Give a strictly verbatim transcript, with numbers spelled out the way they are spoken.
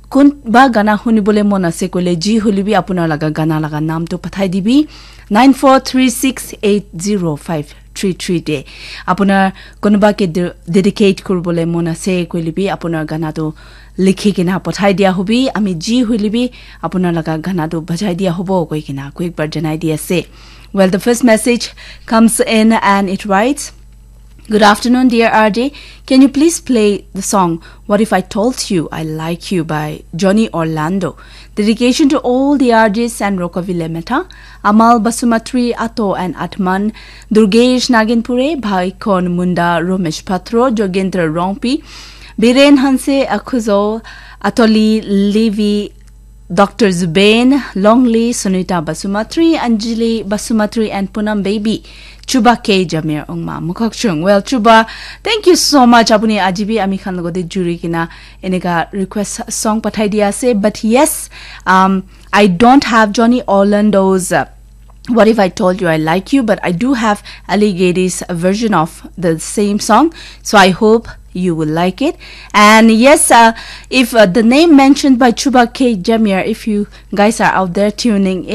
kunba gana hunibole mon ase koile, ji hoile bi apunar laga gana laga naam tu pathai dibi nine four three six eight zero five three three te. Apunar kunuba ke de-, dedicate kuribole mon ase koile bi apunar gana tu likhi kena pathai dia hobi. Ami ji hoile bi apunar laga gana tu bajai dia hobo koi kena koi ek bar janai di ase. Well, the first message comes in and it writes, "Good afternoon, dear R J. Can you please play the song What If I Told You I Like You by Johnny Orlando? Dedication to all the R Js and Rokovile Meta, Amal Basumatri, Ato and Atman, Durgesh Naginpure, Bhaikon Munda, Romesh Patro, Jogendra Rongpi, Biren Hanse, Akhuzo, Atoli, Levi, Doctor Zubain, Longley, Sunita Basumatri, Anjali Basumatri, and Punam Baby, Chuba K Jamir Ongma Mukokchung." Well, Chuba, thank you so much. Apuni aji bi ami khan logote juri kena eneka request song pathai dia ase. But yes, um, I don't have Johnny Orlando's, uh, What If I Told You I Like You, but I do have Ali Gadi's version of the same song. So I hope you will like it. And yes, uh, if, uh, the name mentioned by Chuba K Jamir, if you guys are out there tuning